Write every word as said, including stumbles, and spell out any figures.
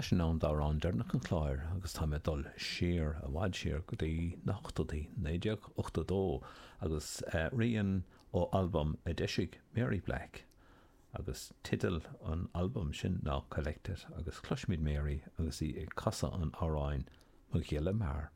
Tá sé in am d'amhrán deireanach an chláir agus tá mé ag dul siar i bhfad siar go dtí na hochtóidí, naoi déag ochtó dó, agus rian ó albam a d'eisigh Mary Black agus teideal an albaim sin ná Collected agus cloisfimid Mary agus í ag casadh an amhráin Mo Ghile Mear.